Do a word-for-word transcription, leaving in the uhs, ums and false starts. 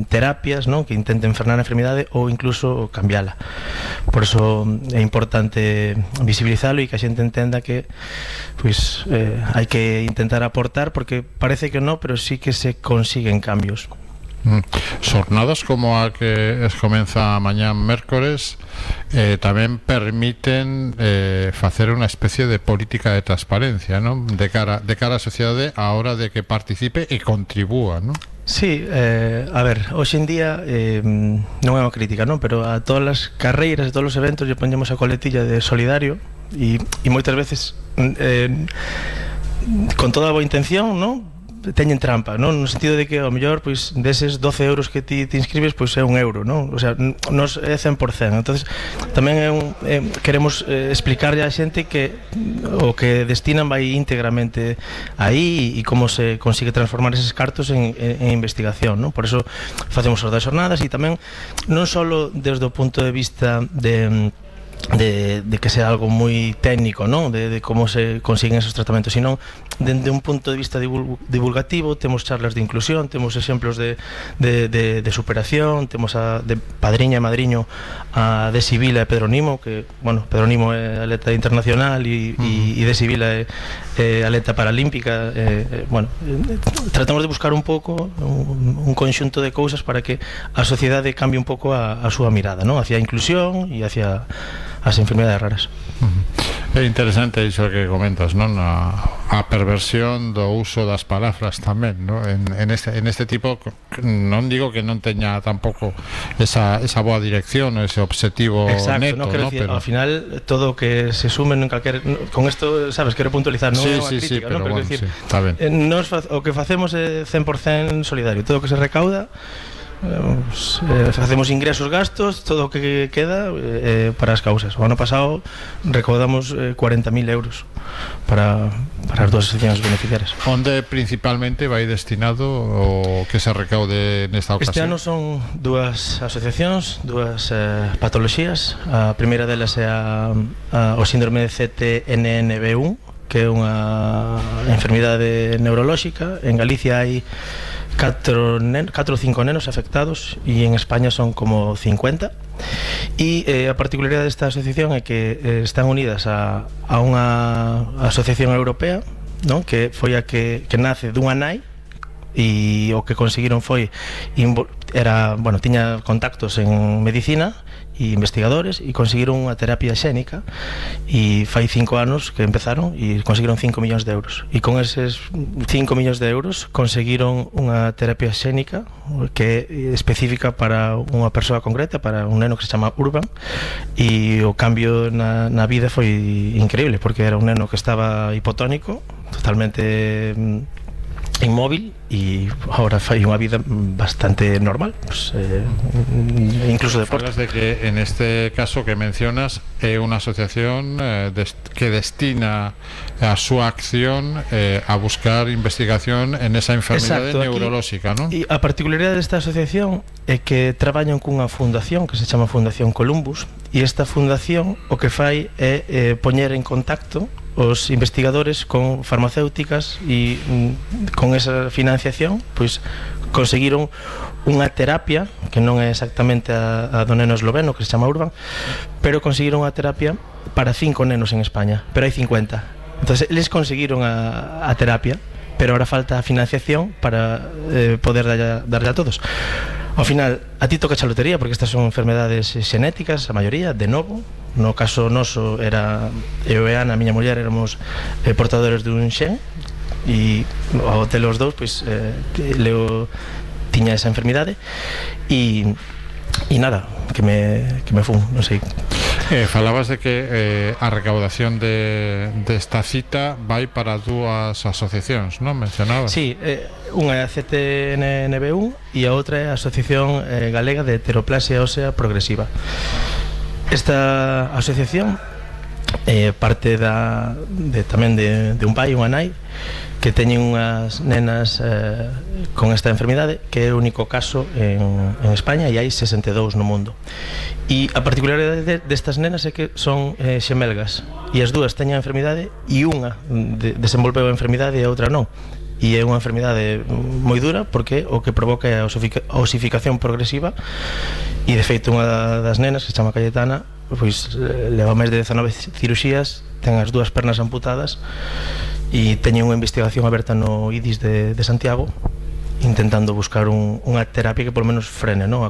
terapias, non, que intenten frenar a enfermidade ou incluso cambiala. Por eso é importante visibilizalo e que a xente entenda que pois eh, hai que intentar aportar, porque parece que non, pero sí que se consiguen cambios. Mm. Xornadas como a que es comeza mañá mércores eh, tamén permiten eh, facer unha especie de política de transparencia, non? De cara, de cara á sociedade a hora de que participe e contribúa, non? Sí, eh, a ver, hoxe en día eh, non é unha crítica, non? Pero a todas as carreiras e todos os eventos lle poñemos a coletilla de solidario e, e moitas veces eh, con toda a boa intención, non? Teñen trampa, non? No sentido de que ao mellor pois deses doce euros que ti te inscribes pois é un euro, non? O sea, nos é cen por cento. Entonces tamén é un, eh, queremos eh, explicarlle á xente que o que destinan vai íntegramente aí e como se consigue transformar eses cartos en, en, en investigación, non? Por eso facemos as das xornadas e tamén non só desde o punto de vista de De, de que sea algo moi técnico, ¿no? de, de como se consiguen esos tratamentos, sino desde un punto de vista divulgativo. Temos charlas de inclusión, temos exemplos de, de, de, de superación, temos a de padriña e madriño a de Sibila e Pedro Nimo, que, bueno, Pedro Nimo é atleta internacional e, uh -huh. e, e de Sibila é, é atleta paralímpica. é, é, bueno, tratamos de buscar un pouco un, un conxunto de cousas para que a sociedade cambie un pouco a, a súa mirada, ¿no? Hacia a inclusión e hacia as enfermedades raras. É interesante iso que comentas, non? A, a perversión do uso das palabras tamén, non? En, en, este, en este tipo, non digo que non teña tampouco esa, esa boa dirección, ese objetivo exacto, neto, no, quero ¿no? Decir, pero ao final todo que se sume en calquer, con isto, sabes, quero puntualizar, non sí, é unha sí, crítica, sí, pero, ¿no? Pero bueno, decir, sí, está ben. Nos, o que facemos é cen por cento solidario, todo o que se recauda eh, facemos ingresos, gastos, todo o que queda eh, para as causas. O ano pasado recaudamos eh, cuarenta mil euros para, para as dúas asociacións beneficiarias. Onde principalmente vai destinado o que se recaude nesta ocasión? Este ano son dúas asociacións, dúas eh, patoloxías. A primeira delas é a, a, o síndrome de C T N N B uno, que é unha enfermidade neurolóxica. En Galicia hai catro ou cinco nenos afectados e en España son como cincuenta. E eh, a particularidade desta asociación é que eh, están unidas a, a unha asociación europea, non? Que foi a que, que nace dunha nai, e o que conseguiron foi era, bueno, tiña contactos en medicina e investigadores e conseguiron unha terapia xénica, e fai cinco anos que empezaron e conseguiron cinco millóns de euros, e con eses cinco millóns de euros conseguiron unha terapia xénica que é específica para unha persoa concreta, para un neno que se chama Urban, e o cambio na, na vida foi increíble, porque era un neno que estaba hipotónico, totalmente inmóvil, e agora fai unha vida bastante normal, pues, eh, incluso deporte. Falas de que en este caso que mencionas é unha asociación eh, des, que destina a súa acción eh, a buscar investigación en esa enfermidade neurolóxica, non? E a particularidade desta asociación é que traballan cunha fundación que se chama Fundación Columbus, e esta fundación o que fai é eh, poñer en contacto os investigadores con farmacéuticas, e mm, con esa financiación pois conseguiron unha terapia que non é exactamente a, a do neno esloveno que se chama Urban, pero conseguiron unha terapia para cinco nenos en España, pero hai cincuenta. Entonces eles conseguiron a, a terapia, pero ahora falta a financiación para eh, poder darlle, darlle a todos. Ao final, a ti toca a lotería, porque estas son enfermedades xenéticas, a maioría, de novo. No caso noso, era eu e Ana, a miña muller, éramos eh, portadores dun xen, e ao ter os dous, pois, eh, Leo tiña esa enfermidade, e, e nada, que me, que me fun, non sei. Eh, falabas de que eh, a recaudación de desta cita vai para dúas asociacións, non? Mencionabas? Sí, eh, unha é a C T N N B uno e a outra é a Asociación eh, Galega de Heteroplasia Ósea Progresiva. Esta asociación eh, parte da, de, tamén de, de un pai e unha nai que teñen unhas nenas eh, con esta enfermidade, que é o único caso en, en España, e hai sesenta e dous no mundo. E a particularidade de, destas nenas é que son eh, xemelgas, e as dúas teñen a enfermidade, e unha de, desenvolveu a enfermidade e a outra non. e é unha enfermidade moi dura porque o que provoca é a osific- osificación progresiva, e de feito unha das nenas, que se chama Cayetana, pois leva máis de dezanove ciruxías, ten as dúas pernas amputadas e teñen unha investigación aberta no I D I S de, de Santiago, intentando buscar un, unha terapia que polo menos frene, non, a